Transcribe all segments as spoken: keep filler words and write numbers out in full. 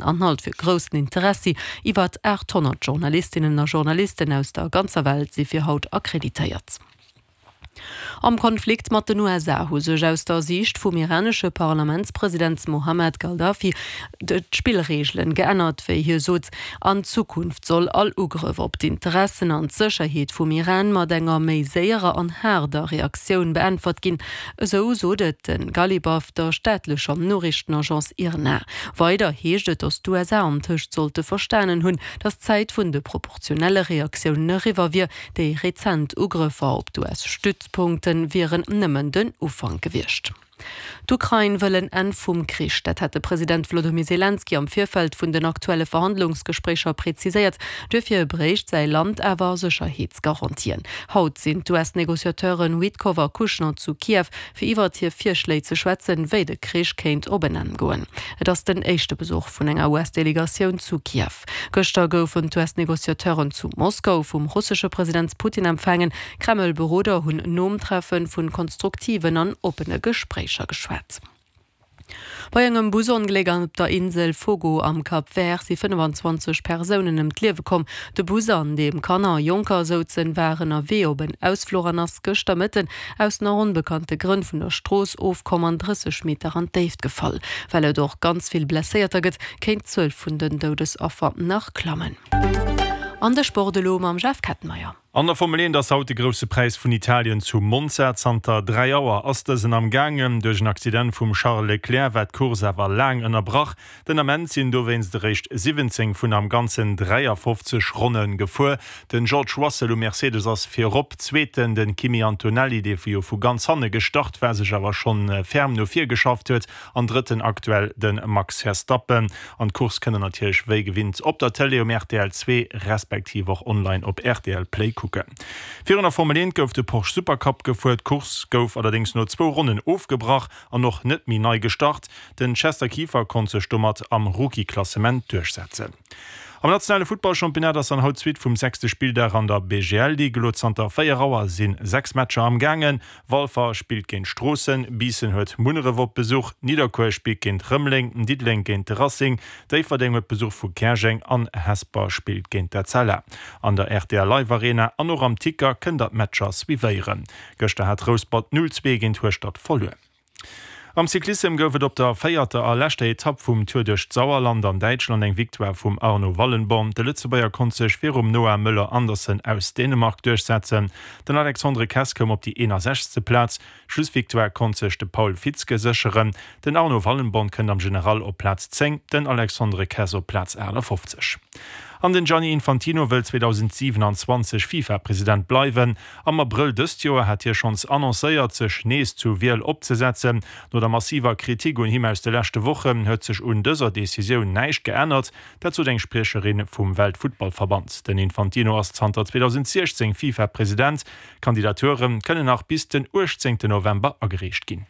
Anhalt fir groussen Interessi, Iwwer aathonnert Journalistinnen a Journalisten aus der ganzer Welt si fir haut akkreditéiert. Am Konflikt mat den U S A hu sech aus der Siicht vum iranesche Parlamentspresident Mohammad Ghalibaf d'Spillreegelen geännert, wéi hie sot. An Zukunft soll all Ugrëff op d'Interessen an d'Sécherheet vum Iran mat enger méi séierer an haarder Reaktioun beäntwert ginn, esou sot et de Ghalibaf der staatlecher Noriichtenagence IRNA. Weider heescht et, datt d'U S A antëscht sollte verstanen hunn, datt d'Zäit vun de proportionelle Reaktiounen eriwwer wier. Déi rezent Ugrëffer op d'U S-Stützpunkte wieren nëmmen den Ufank gewiescht. D'Ukrain wëll en Enn vum Krich, dat hat de President Wlodimir Selenskyj am Virfeld vun den aktuelle Verhandlungsgespréicher präziséiert. Duerfir bréicht säi Land awer Sécherheetsgarantien. Haut sinn d'U S-Negociateuren Witkoff a Kushner zu Kiew, fir iwwer hir Virschléi ze schwätzen, wéi de Krich kéint op en Enn goen. Et ass den éischte Besuch vun enger U S-Delegatioun zu Kiew. Gëschter goufen d'U S-Negociateuren zu Moskau vum russesche President Putin empfaangen. Kreml-Beroder hunn nom Treffe vu konstruktiven an oppene Gespréicher geschwat. Bei engem Busongléck op der Insel Fogo am Cap Vert si fënnefenzwanzeg Persounen ëm d'Liewe komm. De Bus, an deem Kanner a Jonker souzen, war ënnerwee op en Ausfluch an ass gëschter Mëtten aus nach onbekannte Grënn vun der Strooss ofkomm an drësseg Meter an d'Déift gefall. Well et och ganz vill Blesséierter gëtt, kéint d'Zuel vun den Doudesaffer nach klammen. An de Sport elo mam Jeff Kettenmeyer. An der Formel eent ass haut de Grousse Präis vun Italien zu Monza. Zanter dräi Auer ass dësen am Gaangen. Duerch en Accident vum Charles Leclerc war d'Course awer laang ënnerbrach. Den Ament sinn dowéinst eréischt siwwenzéng vun am Ganzen dräiafofzeg Ronne gefuer. Den George Russell um Mercedes ass virop, Zweeten den Kimi Antonelli, dee jo vu ganz hanne gestart war, sech awer schonn ferm no vir geschafft huet, an Drëtten aktuell de Max Verstappen. An d'Course kënnt der natierlech wéi gewinnt op der Tëlee um R T L zwee respektiv och online op R T L Play kucken. Virun der Formel eent gouf de Porsche Supercup gefuer. D'Course gouf allerdéngs no zwou Ronnen ofgebrach an och net méi nei gestart. Den Chester Kieffer konnt sech domat am Rookie-Klassement duerchsetzen. Am nationale Futtballchampionnat ass dann haut d'Suite vum sechste Spilldag an der B G L Ligue. Elo zanter véier Auer sinn sechs Matcher am Gaangen. Walfer spillt géint Stroossen, Biissen huet Munneref op Besuch, Nidderkuer spillt géint Rëmeleng, Diddeleng géint de Racing, Déifferdeng huet Besuch vu Käerjeng an Hesper spillt géint d'Etzella. An der R T L Live Arena an och am Ticker kënnt der d'Matcher suivéieren. Gëschter hat Rouspert null zwee géint Hueschtert verluer. Am Cyclissem gouf et op der véierter a leschter Etapp vum Tour duerch d'Sauerland an Däitschland eng Victoire vum Arno Wallenborn. De Lëtzebuerger konnt sech virum Noah Möller Andersen aus Dänemark duerchsetzen. Den Alexandre Kess koum op déi eenasechzegste Plaz. D'Schlussvictoire konnt sech de Paul Fitzke sécheren. Den Arno Wallenborn kënnt am General op Plaz zéng, den Alexandre Kess op Plaz aachtafofzeg. An den Gianni Infantino wëll zweedausendsiwenanzwanzeg FIFA-President bleiwen. Am Abrëll dëst Joer hat hie schonns annoncéiert, sech nees zur Wiel opzesetzen. No der massiver Kritik un him aus de leschte Wochen huet sech un dëser Decisioun näischt geännert, dat sot eng Spriecherin vum Weltfuttballverband. Den Infantino ass zanter zweedausendsiechzéng FIFA-President. Kandidature kënnen nach bis den uechtzéngten November agereecht ginn.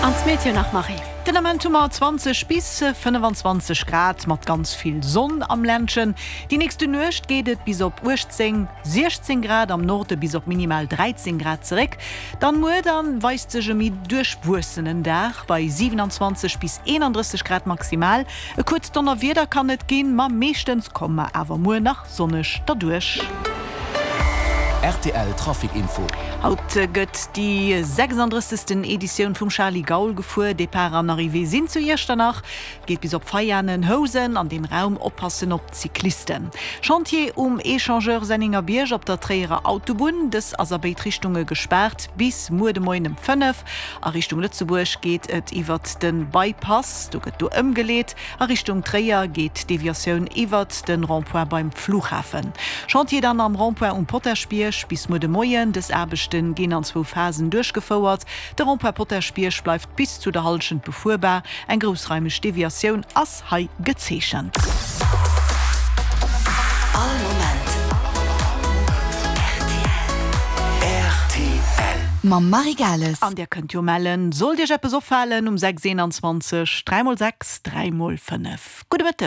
An d'Meteo nach, Marie. Den Ament hu mer zwanzeg bis fënnefenzwanzeg Grad mat ganz vill Sonn am Ländchen. Déi nächste Nuecht geet et bis op uechtzéng, siechzéng Grad, am Norde bis op minimal dräizéng Grad zeréck. Dann muer dann weist sech e méi duerchwuessenen Dag bei siewenundzwanzeg bis eenandrësseg Grad maximal. E kuerzt Donnerwieder kann et ginn, ma meeschtens komme mer awer muer nach sonneg derduerch. R T L Trafic Info. Haut gëtt déi sechsandrëssegsten Editioun vum Charly Gaul gefuer. Depart an Arrivée sinn zu Iechternach. Geet bis op Veianen, Housen, an deem Raum oppassen op d'Cyclisten. Chantier um Echangeur Sennengerbierg op der Tréierer Autobunn. Dës ass a béid Richtunge gespaart bis muer de Moien ëm fënnef. A Richtung Lëtzebuerg geet et iwwert de Bypass, do gëtt do ëmgeleet. A Richtung Tréier geet d'Deviatioun iwwert de Rond-point beim Flughafen. Chantier dann am Rond-point um Potaschbierg bis muer de Moien. Dës Aarbechte ginn an zwou Phasen duerchgefouert. De Rond-point Potaschbierg bleift bis zu der Hallschent befuerbar. Eng groussraimeg Deviatioun ass hei gezeechent. All Moment R T L. Mam Marie Gales. An Dir kënnt jo mellen, sollt Iech eppes opfalen um sechs eenanzwanzeg dräi mol sechs dräi mol fënnef. Gudde Mëtteg.